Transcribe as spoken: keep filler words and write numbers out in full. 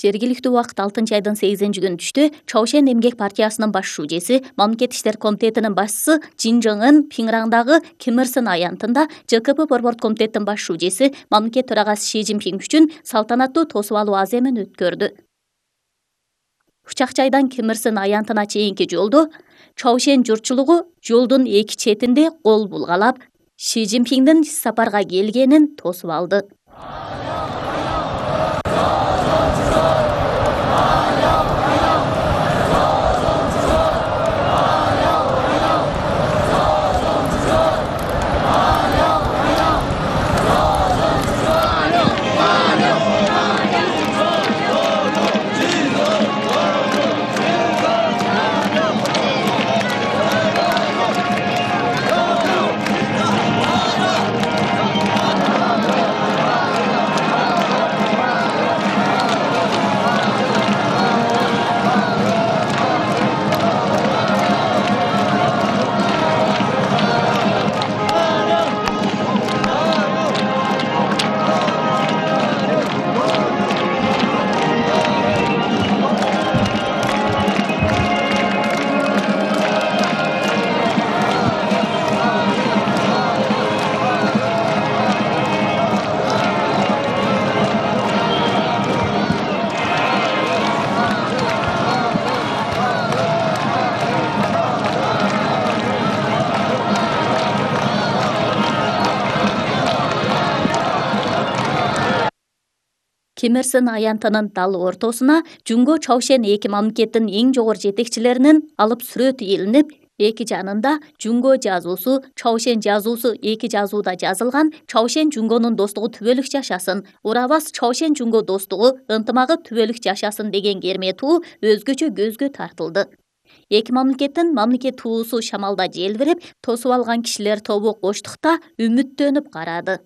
Жергиликтүү убакыт алтынчы айдын сегизинчи күнү түштө Чаошен эмгек партиясынын баш шүүжеси, Мамлекет иштер комитетинин башчысы Жин Жон Ын Пиңраңдагы Ким Ир Сен аянтында Ж К П борбордук комитетинин баш шүүжеси, мамлекет төрагасы Си Цзиньпин үчүн салтанаттуу тосуп алуу аземин өткөрдү. Учак-жайдан Ким Ир Сен аянтына чейинки жолдо Чаошен журтчулугу жолдун эки четинде кол булгалап, Си Цзиньпиндин сапарга келгенин тосуп алды. Ким Ир Сен аянтынын дал ортосуна Жунго Чаошен эки мамлекеттин эң жогору жетекчилеринин алып сүрөтү илинип, эки жанында Жунго жазуусу, Чаошен жазуусу эки жазууда жазылган Чаошен Жунгонун достугу түбөлүк жашасын, урабас Чаошен Жунго достугу, ынтымагы түбөлүк жашасын деген керме туу өзгөчө көзгө тартылды. Эки мамлекеттин мамлекет туусу шамалда желбиреп, тосуп алган кишилер тобу коштукта үмүттөнүп карады.